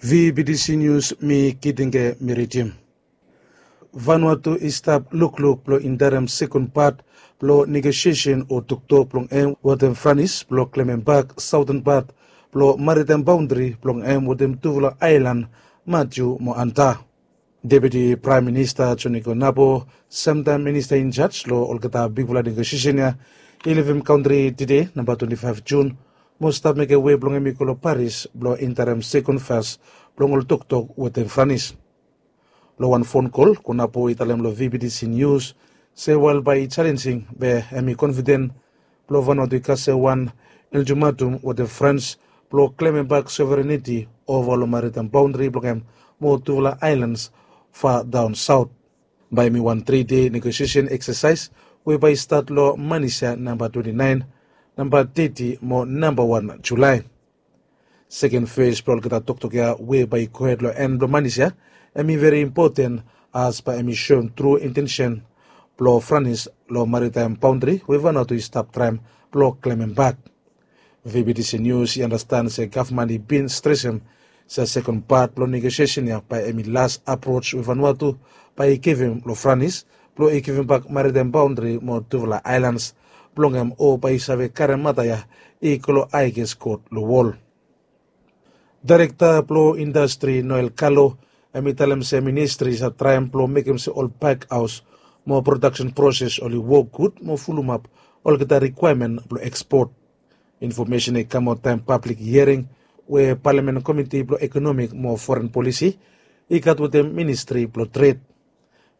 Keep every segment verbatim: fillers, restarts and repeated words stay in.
V B T C News, mi Kitinge Meritim. Vanuatu i stap lukluk blong interim sekon pat blong negosiesen o toktok blong em wetem Franis blong klemem bak saoten pat blong maritaem baondri blong em wetem tufala aelan, Matiu mo Anta. Deputi Praem Minista Joni Konapo, semtaem minista injaj long olgeta bigfala negosiesen ya, i livim kantri tede, namba twenti faef Jun, mo stap mekem wei blong em i go long Paris blong interim sekon fas blong ol toktok wetem Franis. Long wan fon kol, Konapo i talem long V B T C News se wael bae i jalenjing, be em i konfiden blong Vanuatu i kasem wan ultimatum wetem Frans blong klemem bak sovereniti ova long maritaem baondri blong em mo tufala aelans fa daon saot. Bae em i wan tri dei negosiesen eksasaes we bae i stat long Manis ya, namba twenti naen, namba teti mo namba wan Julae. Seken fes blong olgeta toktok ya we bae i gohed long en blong Manis ya, em i veri impoten, as bae em i soem tru intensen blong Franis long maritaem baondri we Vanuatu i stap traem blong klemem bak. V B T C News i andastan se gavman i bin stresem se sekon pat blong negosiesen ya bae em i las aproj we Vanuatu bae i givim long Franis blong i givim bak maritaem baondri mo tufala aelans blong em, o bae i save karem mata ya i go long aeges kot long wol. Daerekta blong indastri Noel Kalo, em i talem se ministri i save traem blong mekem se ol pakhaos mo prodaksen proses oli wok gud mo fulumap olgeta rikwaemen blong ekspot. Infomesen i kamaot taem pablik hiering we Palamen Komiti blong Ekonomik mo Foren Polisi i gat wetem Ministri blong Tred.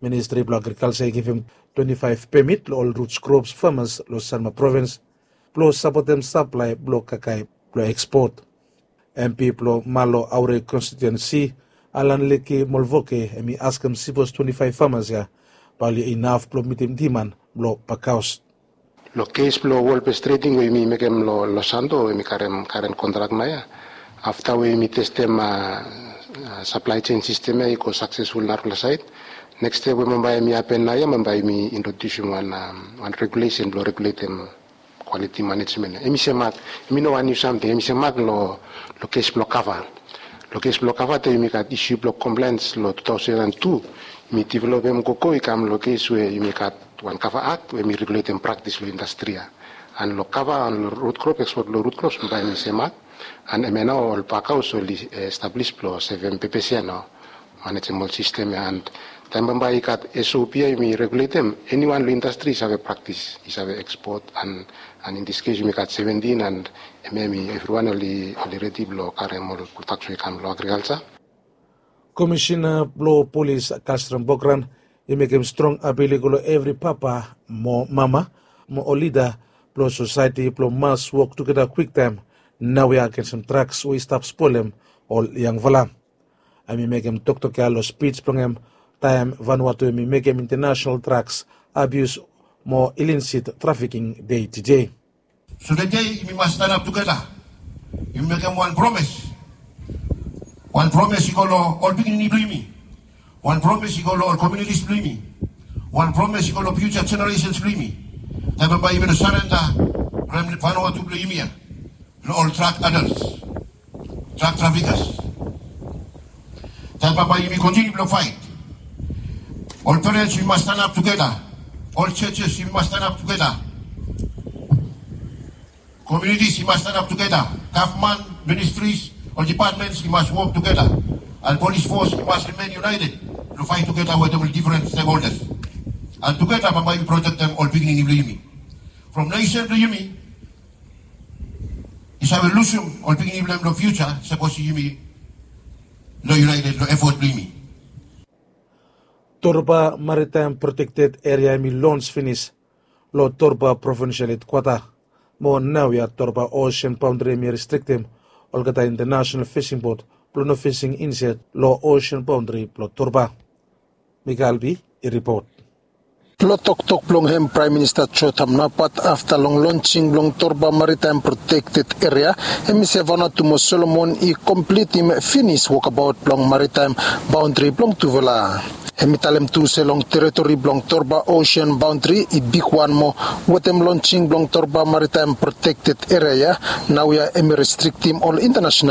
Ministri blong Agrikalja i givim twenti faef pemit long ol rut krops famas long Sanma Provins blong sapotem saplae blong kakae blong ekspot. M P blong Malo Aure konstitiuensi, Alan Leki Molvoke, em i askem sipos twenti faef famas ya bae oli inaf blong mitim diman blong pakhaos. Long kes blong wol bes treding we yumi mekem long Los Santos, yumi karem karen kontrak naoia. Afta we yumi testem saplae sen sistem ya i go saksesful narafala saed, neks step we bambae yumi hapen naoia, bambae yumi introdiusim wan regulesen blong reguletem kwaliti manejmen ya. Yumi semak, yumi no wan niu samting, yumi semak long kes blong kava. Long kes blong kava, taem yumi gat isu blong komplaens long tu taosen an tu, yumi developem gogo i kam long kes we yumi gat wan kava akt we yumi reguletem praktis long indastri ya. An long kava an long rut krop, ekspot blong rut krops, bambae yumi semak. An hemia nao ol pakhaos oli establis blong sevem pepes ya nao, manejem ol sistem ya. An taem bambae i gat S O P ya yumi reguletem, eniwan long indastri i save praktis, i save ekspot. An in dis kes yumi gat seventin, an hemia yumi evriwan oli redi blong karem ol prodaks we i kam long agrikalja. Komisena blong Polis Kalstram Bokran i mekem strong apil i go long evri papa mo mama mo ol lida blong sosaeti blong mas wok tugeta kwiktaem naoia agensem draks we i stap spolem ol yangfala. Em i mekem toktok ya long spij blong em taem Vanuatu em i mekem International Draks Abius mo Ilisit Trafiking Dei tede. So tede yumi mas stanap tugeta. Yumi mekem wan promes. Wan promes i go long ol pikinini blong yumi. Wan promes i go long ol komunitis blong yumi. Wan promes i go long fiuja jeneresens blong yumi. Taem bambae yumi no sarenda rem Vanuatu blong yumi ya long ol drak adals, drak trafikas. Taem bambae yumi kontiniu blong faet. Ol perens yumi mas stanap tugeta. Ol jejes yumi mas stanap tugeta. Komunitis i mas stanap tugeta. Gavman, ministris, ol dipatmens i mas wok tugeta. An polis fos i mas rimen iunaeted blong faet tugeta wetem ol difren stekholdas. An tugeta bambae yumi protektem ol pikinini blong yumi. From nesen blong yumi i save lusum ol pikinini blong hem long fiuja sapos yumi no iunaeted long efot blong yumi. Torba Maritaem Protekted Eria em i lons finis long Torba provinsial hedkwata. Mo naoia Torba osen baondri em i restriktem olgeta internasenal fising bot blong no fising insaed long osen baondri blong Torba. Mikael B i ripot. Long toktok blong hem Praem Minista Jo Tamnapat afta long lonsing blong Torba Maritaem Protekted Eria, hem i se Vanuatu mo Solomon i komplitim finis wokabaot blong maritaem baondri blong tufala. Hem i talem tu se long teritori blong Torba osen baondri i bigwan moa wetem lonsing blong Torba Maritaem Protekted Eria ya, naoia hem i restriktim ol internasenal